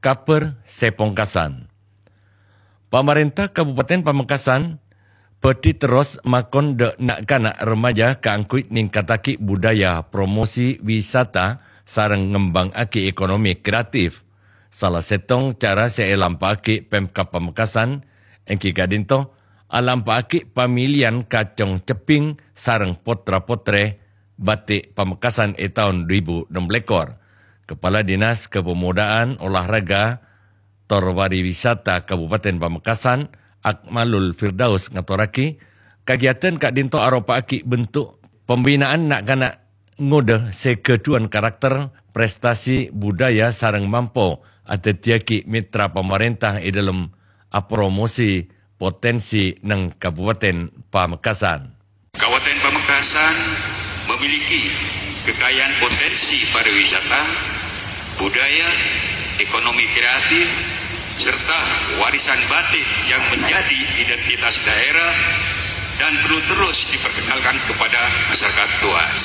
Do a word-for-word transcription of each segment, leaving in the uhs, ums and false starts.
Kabhâr sè pongkasan. Pamarènta Kabupaten Pamekasan bhâdhi terros makon dâ' na'-kana' remaja kaangghuy ningkattaghi budaya promosi wisata sareng ngembangngaghi ekonomi kreatif. Sala sèttong cara sè èlampa'aghi Pemkab Pamekasan èngghi ka'dinto alampa'aghi pamiliyan kacong cebbhing sareng potra-potrè batik Pamekasan è taon dhu èbu ennem lèkor. Kepala Dinas Kepemudaan, Olahraga, tor Pariwisata Kabupaten Pamekasan, Akmalul Firdaus ngatorraghi, kagiatan ka'dinto aropa'aghi bentuk pembinaan na'-kana' ngodâ sè ghâdhuwân karakter, prestasi, budaya, sareng mampo adhâddhiyâghi mitra pamarènta è dhâlem apromosi potensi neng Kabupaten Pamekasan. Kabupaten Pamekasan memiliki kekayaan potensi pariwisata, budaya, ekonomi kreatif, serta warisan batik yang menjadi identitas daerah dan perlu terus diperkenalkan kepada masyarakat luas.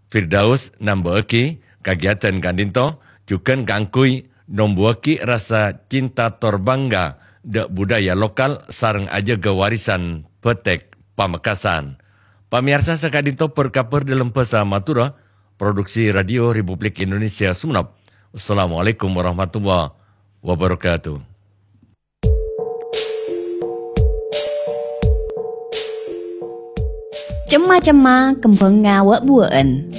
Firdaus namba'aghi, kagiatan ka'dinto jhughân kaangghuy nombuwâghi rasa cinta tor bangga dâ' budaya lokal sareng ajâgâ warisan batik Pamekasan. Pamèyarsa, saka'dinto bâr-kabhâr dhâlem bhâsa Madhurâ, produksi Radio Republik Indonesia Sumenep. Wassalamualaikum warahmatullahi wabarakatuh. Cemma-cemma, kembhângnga wâ'-buwâ'ân.